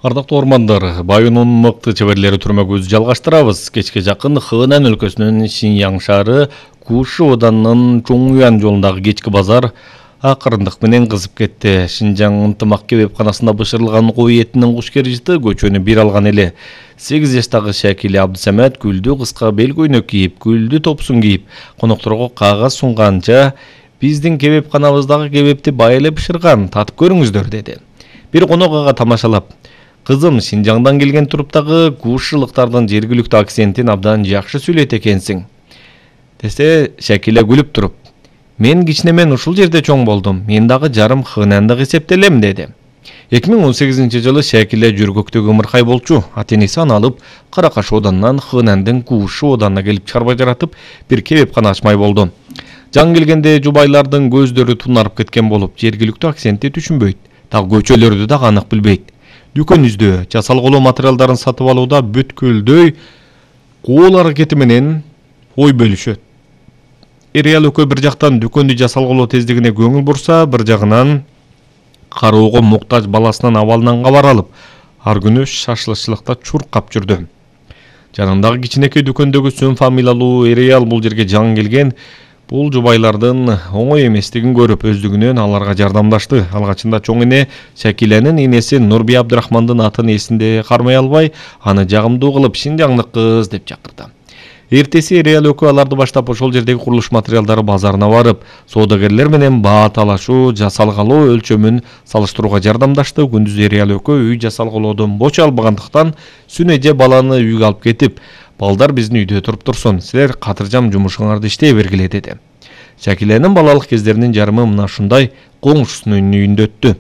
Ардактуу ормандар, Байынын мыкты чеберлери түрмөгүбүздү жалгаштырабыз. Кечке жакын Хэнан өлкөсүнүн Шиньяң шаары Куши Оданынын Чоңуян жолундагы кечки базар акырындык менен кызып кетти. Шинжаң ынтымак кебепканасында бышырылган кой этинин кушкер-жыты көчөнү бир алган эле. 8 жаштагы Шакиле Абдысамат күлдү кыска бел көйнөк кийип, күлдү топсун кийип, конокторго кагаз сунганча биздин кебепканабыздагы кебепти бай эле бышырган, татып көрүңүздөр деди. Бир конок ага тамашалап: "Кызым, Шинжаңдан келген туруптагы кушылыктардын жергиликтүү акцентин абдан жакшы сүйлөйт экенсиң" десе, Шакиле күлүп туруп: "Мен кичинемен ушул жерде чоң болдум. Мен дагы жарым хынандык эсептелем" деди. 2018-жылы Шакиле жүргөктөгү ымыркай болчу. Ата-энеси аны алып Каракаш Оданынан Хынандын Куши Оданына келип чарба жаратып, бир кебепкана ачмай болду. Жан келгенде жубайлардын көздөрү тунарып кеткен болуп, жергиликтүү акцентти түшүнбөйт, дагы көчөлөрдү дагы анык билбейт. Дүкөн издөө, жасалгылоо материалдарын сатып алууда бүткүлдөй кол аракети менен ой бөлүшөт. Эр-аял экөө бир жактан дүкөндү жасалгылоо тездигине көңүл бурса, бир жагынан кароого муктаж баласынын абалынан кабар алып, ар күнү шашлычылыкта чуркап жүрдү. Жанындагы кичинекей дүкөндөгү Сөн фамилиялуу эр-аял бул жерге жан келген бул жубайлардын оңой эместигин көрүп, өздүгүнөн аларга жардамдашты. Алгачында чоң эне Шакиленин энеси Нурбия Абдрахмандын атын эсинде кармай албай, аны жагымдуу кылып Шинжаңдык кыз деп чакырды. Эртеси эр-аял экөө аларды баштап ошол жердеги курулуш материалдары базарына барып, соодагерлер менен баа талашуу, жасалгалоо өлчөмүн салыштырууга жардамдашты. Күндүз эр-аял экөө үй жасалгалоодон боч албагандыктан сүн эже баланы үйгө алып кетип, "Балдар биздин үйдө туруп турсун, силер катыржам жумушуңарды иштей бергиле" деди. Шакиленин балалык кездеринин жарымы мына ушундай коңшусунун үйүндө өттү.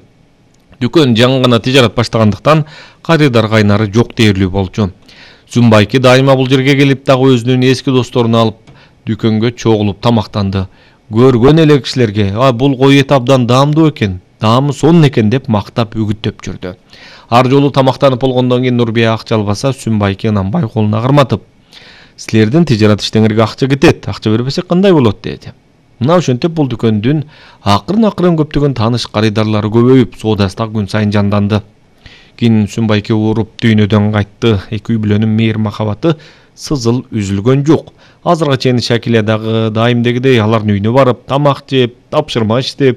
Дүкөн жаңы гана тижарат баштагандыктан карыдар кайнары жок дээрлүү болчу. Сүмбайки дайыма бул жерге келип, дагы өзүнүн эски досторун алып дүкөнгө чогулуп тамактанды. Көргөн эле кишилерге бул кой эти абдан даамдуу экен, даамы сонун экен деп мактап үгүттөп жүрдү. Ар жолу тамактанып болгондон кийин Нурбия акча албаса, Сүмбайки Ынанбай колуна карматып: "Силердин тижарат иштеңерге акча кетет, акча бербесек кандай болот" деди. Мына ошентип бул дүкөндүн акырын көптөгөн тааныш карыдарлары көбөйүп, соодасы да күн сайын жанданды. Кийин Сүмбайки ооруп дүйнөдөн кайтты. Эки үй бүлөнүн мейир махабаты сызыл үзүлгөн жок. Азырга чейин Шакиле дагы дайымдегидей алардын үйүнө барып, тамак жеп, тапшырма иштеп,